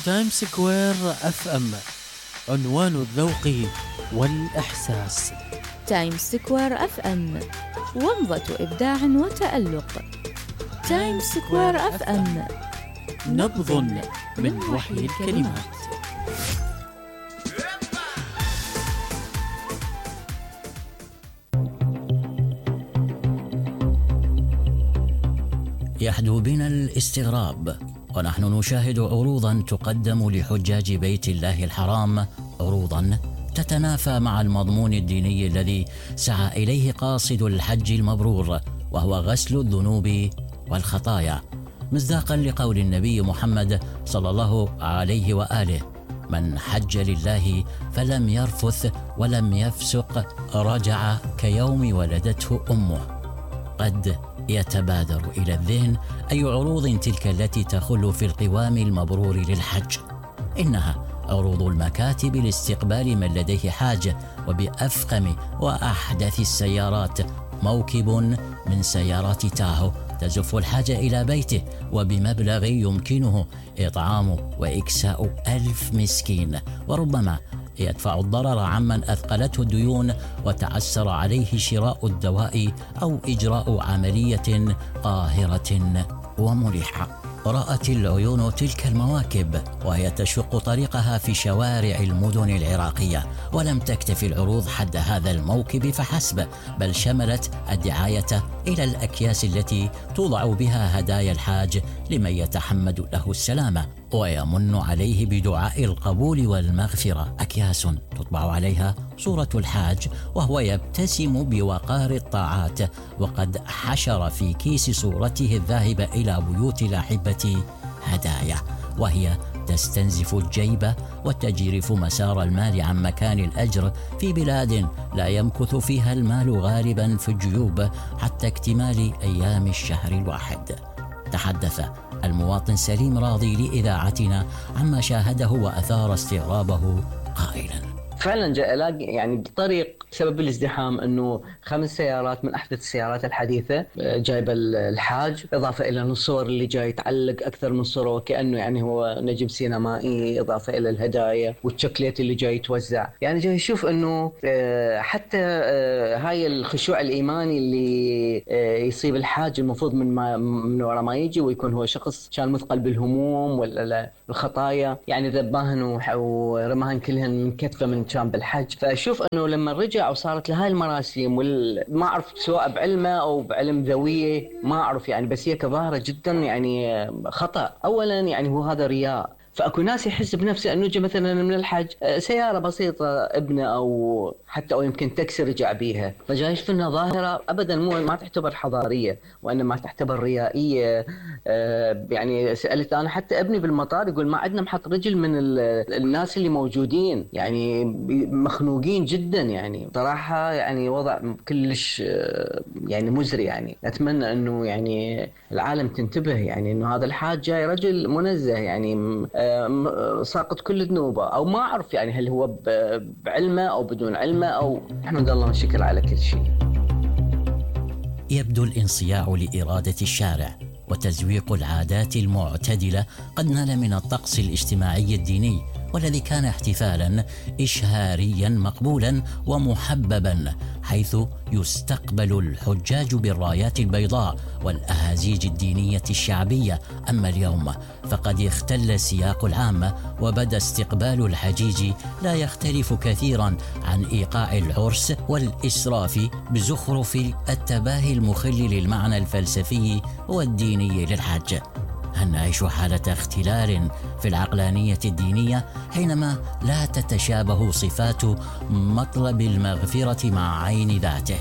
تايم سكوير اف ام، عنوان الذوق والإحساس. تايم سكوير اف ام، ومضة إبداع وتألق. تايم سكوير اف ام، نبض من وحي الكلمات. يحدو بنا الاستغراب ونحن نشاهد عروضا تقدم لحجاج بيت الله الحرام، عروضا تتنافى مع المضمون الديني الذي سعى إليه قاصد الحج المبرور، وهو غسل الذنوب والخطايا، مصداقا لقول النبي محمد صلى الله عليه وآله: من حج لله فلم يرفث ولم يفسق رجع كيوم ولدته أمه. قد يتبادر إلى الذهن أي عروض تلك التي تخل في القوام المبرور للحج. إنها عروض المكاتب لاستقبال من لديه حاجة، وبأفخم وأحدث السيارات، موكب من سيارات تاهو تزف الحاجة إلى بيته وبمبلغ يمكنه إطعام وإكساء 1000 مسكين، وربما يدفع الضرر عمن أثقلته الديون وتعسر عليه شراء الدواء أو إجراء عملية قاهرة ومريحة. رأت العيون تلك المواكب وهي تشق طريقها في شوارع المدن العراقية، ولم تكتف العروض حد هذا الموكب فحسب، بل شملت الدعاية إلى الأكياس التي توضع بها هدايا الحاج لمن يتحمد له السلامة ويمن عليه بدعاء القبول والمغفرة. أكياس تطبع عليها صورة الحاج وهو يبتسم بوقار الطاعات، وقد حشر في كيس صورته الذاهبة إلى بيوت الأحبة هدايا، وهي تستنزف الجيب وتجرف مسار المال عن مكان الأجر في بلاد لا يمكث فيها المال غالبا في الجيوب حتى اكتمال أيام الشهر الواحد. تحدث المواطن سليم راضي لإذاعتنا عما شاهده وأثار استغرابه قائلا: فعلا جاء الاقي يعني بالطريق سبب الازدحام انه 5 سيارات من احدث السيارات الحديثه جايبه الحاج، اضافه الى الصور اللي جاي تعلق اكثر من صوره وكانه يعني هو نجم سينمائي، اضافه الى الهدايا والشوكليت اللي جاي يتوزع. يعني جاي يشوف انه حتى هاي الخشوع الايماني اللي يصيب الحاج المفروض من وراء ما يجي ويكون هو شخص كان مثقل بالهموم ولا الخطايا، يعني ذباهن ورماهن كلهن من كتفه من كان بالحج. فاشوف انه لما رجع وصارت له هاي المراسيم ما اعرف سواء بعلمه او بعلم ذويه ما اعرف يعني، بس هي كظاهره جدا يعني خطا. اولا يعني هو هذا رياء، فاكو ناس يحس بنفسه انه جاء مثلا من الحج سياره بسيطه ابنه او حتى او يمكن تاكسي رجع بيها، فجاي يشوف انها ظاهره ابدا ما تعتبر حضاريه وانما تعتبر ريائيه. يعني سالت انا حتى ابني بالمطار يقول ما عندنا محط رجل من الناس اللي موجودين، يعني مخنوقين جدا. يعني صراحه يعني وضع كلش يعني مزري. يعني اتمنى انه يعني العالم تنتبه، يعني انه هذا الحاج جاي رجل منزه يعني ساقط كل ذنوبه، او ما اعرف يعني هل هو بعلمه او بدون علمه، او احمد الله والشكر على كل شيء. يبدو الانصياع لإرادة الشارع وتزويق العادات المعتدلة قد نال من الطقس الاجتماعي الديني، والذي كان احتفالا إشهاريا مقبولا ومحببا، حيث يستقبل الحجاج بالرايات البيضاء والأهازيج الدينية الشعبية. أما اليوم فقد اختل السياق العام، وبدا استقبال الحجيج لا يختلف كثيرا عن إيقاع العرس والإسراف بزخرف التباهي المخل للمعنى الفلسفي والديني للحج. هل نعيش حالة اختلال في العقلانية الدينية حينما لا تتشابه صفات مطلب المغفرة مع عين ذاته؟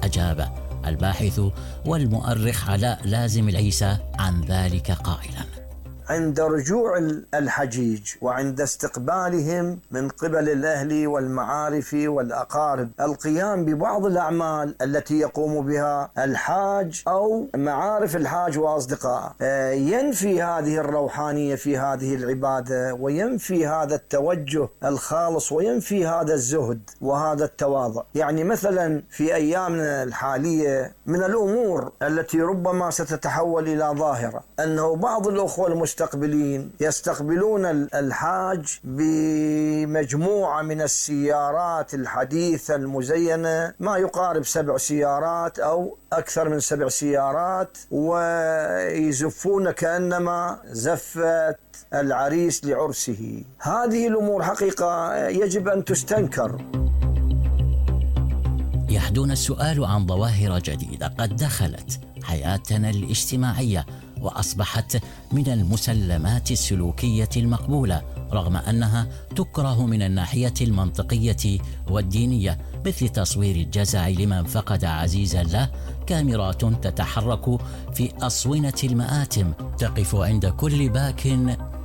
أجاب الباحث والمؤرخ علاء لازم العيسى عن ذلك قائلا: عند رجوع الحجيج وعند استقبالهم من قبل الأهل والمعارف والأقارب القيام ببعض الأعمال التي يقوم بها الحاج أو معارف الحاج وأصدقائه ينفي هذه الروحانية في هذه العبادة، وينفي هذا التوجه الخالص، وينفي هذا الزهد وهذا التواضع. يعني مثلا في أيامنا الحالية من الأمور التي ربما ستتحول إلى ظاهرة أنه بعض الأخوة المسلمين المستقبلين يستقبلون الحاج بمجموعة من السيارات الحديثة المزينة، ما يقارب 7 سيارات أو أكثر من 7 سيارات، ويزفون كأنما زفت العريس لعرسه. هذه الأمور حقيقة يجب أن تستنكر. يحدون السؤال عن ظواهر جديدة قد دخلت حياتنا الاجتماعية وأصبحت من المسلمات السلوكية المقبولة، رغم أنها تكره من الناحية المنطقية والدينية، مثل تصوير الجزع لمن فقد عزيزا له، كاميرات تتحرك في أصونة المآتم تقف عند كل باك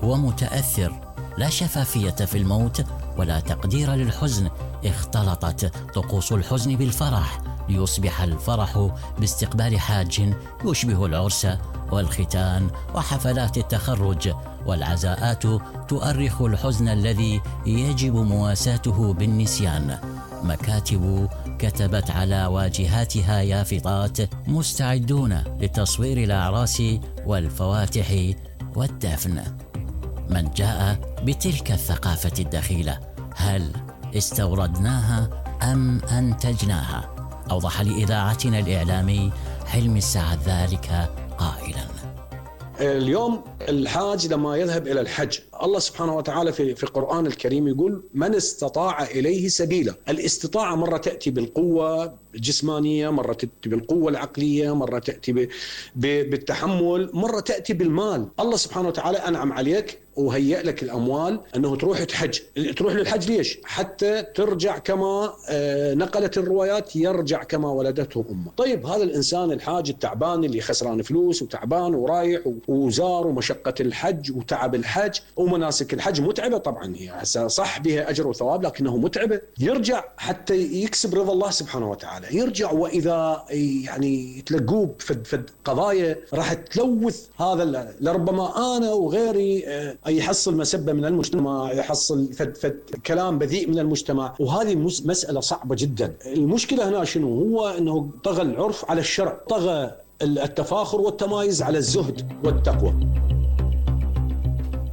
ومتأثر، لا شفافية في الموت ولا تقدير للحزن. اختلطت طقوس الحزن بالفرح ليصبح الفرح باستقبال حاج يشبه العرس والختان وحفلات التخرج، والعزاءات تؤرخ الحزن الذي يجب مواساته بالنسيان. مكاتب كتبت على واجهاتها يافطات: مستعدون لتصوير الأعراس والفواتح والدفن. من جاء بتلك الثقافة الدخيلة؟ هل استوردناها أم أنتجناها؟ أوضح لإذاعتنا الإعلامي حلمي السعد ذلك قائلا: اليوم الحاج لما يذهب إلى الحج، الله سبحانه وتعالى في القرآن الكريم يقول: من استطاع إليه سبيلا. الاستطاعة مرة تأتي بالقوة الجسمانية، مرة تأتي بالقوة العقلية، مرة تأتي بالتحمل، مرة تأتي بالمال. الله سبحانه وتعالى أنعم عليك وهيئ لك الأموال أنه تروح تحج. تروح للحج ليش؟ حتى ترجع كما نقلت الروايات: يرجع كما ولدته أمه. طيب هذا الإنسان الحاج التعبان اللي خسران فلوس وتعبان ورايح وزار ومشقة الحج وتعب الحج ومناسك الحج متعبة طبعا، هي صح بها أجر وثواب لكنه متعبة. يرجع حتى يكسب رضا الله سبحانه وتعالى، يرجع وإذا يعني تلقوه في قضايا راح تلوث هذا، لربما أنا وغيري يحصل مسبة من المجتمع، يحصل فد كلام بذيء من المجتمع، وهذه مسألة صعبة جدا. المشكلة هنا شنو؟ هو أنه طغى العرف على الشرع، طغى التفاخر والتمايز على الزهد والتقوى.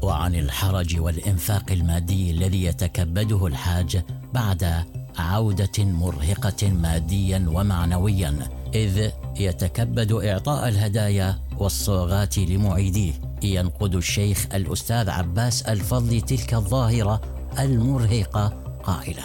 وعن الحرج والإنفاق المادي الذي يتكبده الحاج بعد عودة مرهقة ماديا ومعنويا، إذ يتكبد إعطاء الهدايا والصوغات لمعيديه. ينقد الشيخ الأستاذ عباس الفضلي تلك الظاهرة المرهقة قائلا: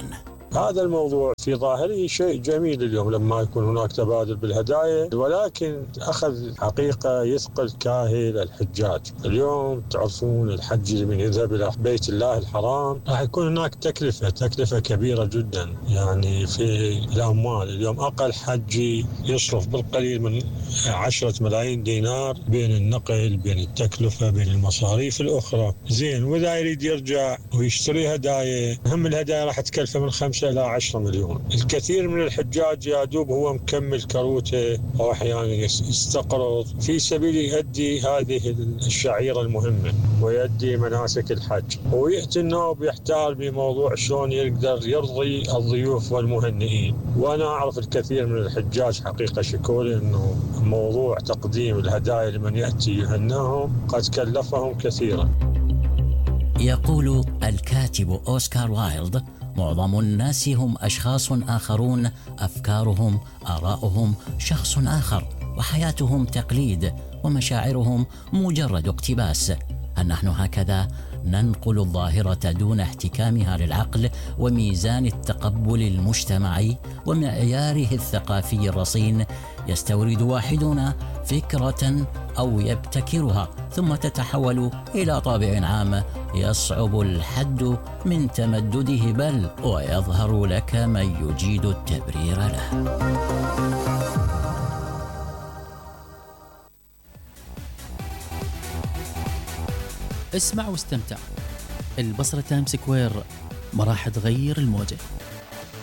هذا الموضوع في ظاهره شيء جميل اليوم لما يكون هناك تبادل بالهدايا، ولكن أخذ حقيقة يثقل كاهل الحجاج. اليوم تعرفون الحج من يذهب إلى بيت الله الحرام راح يكون هناك تكلفة كبيرة جدا، يعني في الأموال. اليوم أقل حجي يصرف بالقليل من 10 ملايين دينار بين النقل، بين التكلفة، بين المصاريف الأخرى. زين، وإذا يريد يرجع ويشتري هدايا، هم الهدايا راح تكلفه من 5 إلى 10 مليون. الكثير من الحجاج يا دوب هو مكمل كروته أو أحيانا يستقرض في سبيل يؤدي هذه الشعيرة المهمة ويؤدي مناسك الحج، ويعتنى وبيحتار بموضوع شلون يقدر يرضي الضيوف والمهنئين. وأنا أعرف الكثير من الحجاج حقيقة شكولي أنه موضوع تقديم الهدايا لمن يأتي يهناهم قد كلفهم كثيرا. يقول الكاتب أوسكار وايلد: معظم الناس هم أشخاص آخرون، أفكارهم، آراؤهم شخص آخر، وحياتهم تقليد، ومشاعرهم مجرد اقتباس. هل نحن هكذا ننقل الظاهرة دون احتكامها للعقل وميزان التقبل المجتمعي ومعياره الثقافي الرصين؟ يستورد واحدنا فكرة أو يبتكرها ثم تتحول إلى طابع عام يصعب الحد من تمدده، بل ويظهر لك من يجيد التبرير له. اسمع واستمتع. البصرة تايم سكوير ما راح تغير الموجة.